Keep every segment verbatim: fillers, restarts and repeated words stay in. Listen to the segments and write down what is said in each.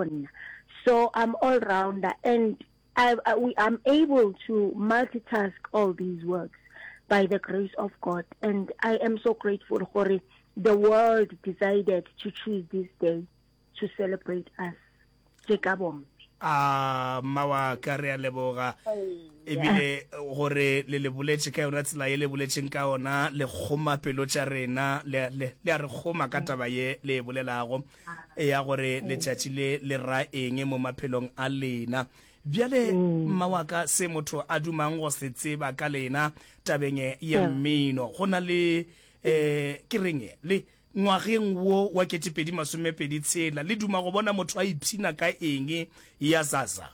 Nna. So I'm all rounder and I, I, we, I'm able to multitask all these works by the grace of God and I am so grateful gore the world decided to choose this day to celebrate us tše ka bomme. A mma wa ka, re a leboga. Ebile gore le le boletše ka yona tsela ye le boletšeng ka ona, le kgoma pelo tša rena, le, le, le a re kgoma ka taba ye le e bolelago ya gore letšatši le le ra eng mo maphelong a lena. Bjale, mma wa ka, se motho a dumang go se tseba ka lena tabeng ya mmino, go na le, eh, ke reng, le, Ngwageng wo wa ketepedi masomepedi tshela, le duma go bona motho a ipshina ka eng ya Zaza?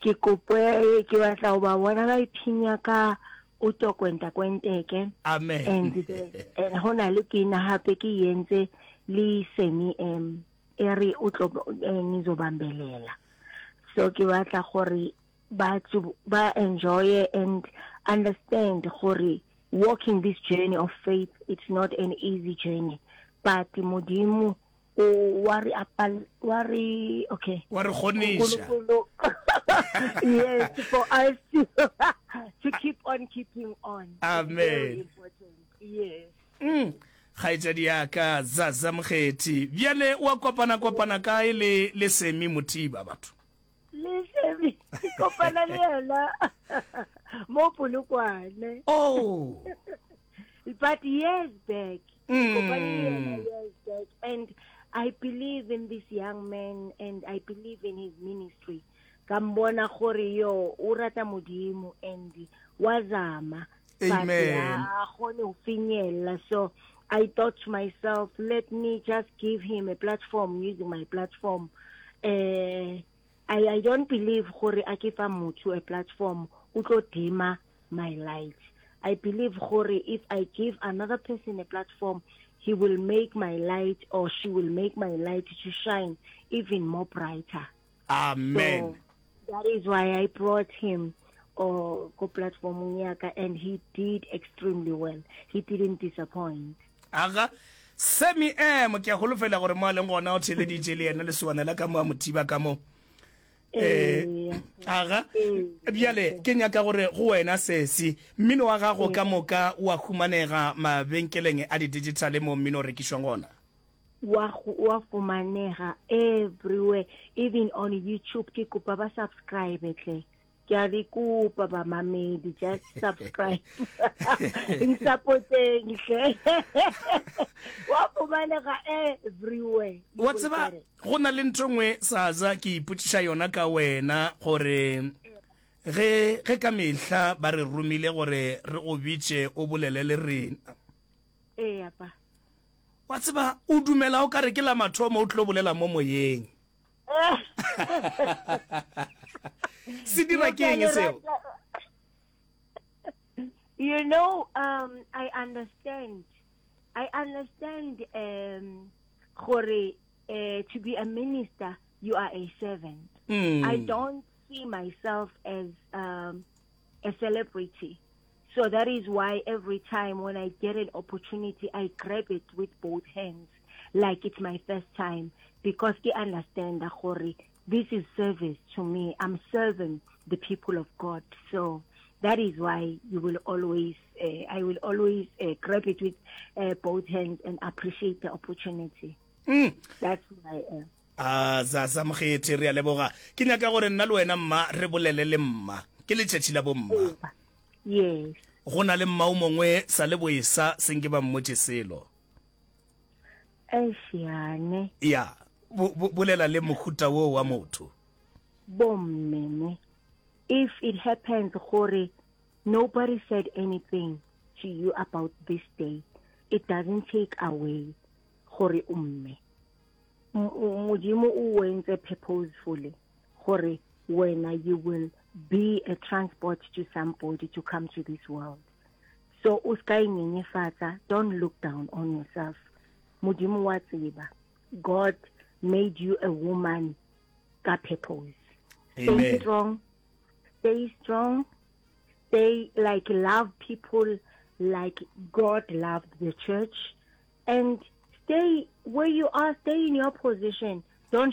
Ke kope, ke batla go ba bona ba ipshina ka o to kwenta kwenteke. Amen. And the, and go na le pina gape ke e entse le Sammy M e re o tlo eh, ngizobambelela. So ke batla gore batho ba enjoy and understand gore walking this journey of faith it's not an easy journey but Modimo o wa re apal wa re okay Wa re kgoniša. Nkulunkulu yes for us to, to keep on keeping on. It's Amen. very important. Yes. Mm. Kgaetšadi ya ka Zaza Mokgethi, bjale wa kopana kopana kae le le Semi Mothiba batho? Le Semi ke kopana le yena mo Polokwane. Oh. But years back, ke kopane le yena Mm. years back, and I believe in this young man and I believe in his ministry. Ka mbona gore yo o rata Modimo and wa zama, but Amen. ha kgone ho finyella. So I thought to myself, let me just give him a platform using my platform. Uh, I, I don't believe gore a ke fa motho a platform o tlo dima my light. I believe gore if I give another person a platform, he will make my light or she will make my light to shine even more brighter. Amen. So that is why I brought him or go platform ya ka, and he did extremely well. He didn't disappoint. Aga Sammy M ke a holofela gore mo a leng gona o theleditše le yena lesowana la ka mo a Mothiba ka mo. Eh, Ee. aga Ee. bjale ke nyaka gore go wena sesi mmino wa gago ka moka o a humanega mabenkeleng a di-digital mo mmino o rekišwang gona. Wa go wa fumanega everywhere, even on YouTube. Ke kopa ba subscribe tle. Ke a le kopa bamamedi, just subscribe. Nsupporteng hle. Wa fumanega everywhere. You Wa will tseba get it. go na le ntho nngwe Saza ke ipotšiša yona ka wena gore ge ge ka mehla ba re romile gore re go bitše o bolele le rena. Ee, apa. Wa tseba o dumela o ka re ke la mathomo o tlo bolela mo moyeng. Se dira ke eng seo? You know, um, I understand. I understand um, gore uh, to be a minister, you are a servant. Mm. I don't see myself as um, a celebrity. So that is why every time when I get an opportunity, I grab it with both hands, like it's my first time, because I understand that gore this is service to me. I'm serving the people of God. So that is why you will always, uh, I will always uh, grab it with uh, both hands and appreciate the opportunity. Mm. That's who I am. A Zaza Mokgethi re a leboga. Ke nyaka gore nna le wena mma re bolele le mma. Ke letšatši la bomma. Yes. Go na le mma o mongwe sa le boesa se nke ba mmotše selo. Eish, Ya, bo, bo, bolela le mohuta wo wa motho. Bomme ne. If it happens gore nobody said anything to you about this day, it doesn't take away gore o mme. M-, Modimo o wentse purposefully gore wena you will be a transport to somebody to come to this world. So o ska inyenyefatsa, don't look down on yourself. Modimo wa tseba. God made you a woman ka purpose. Stay Amen. strong. Stay strong. Stay like love people like God loved the church, and stay where you are, stay in your position. Don't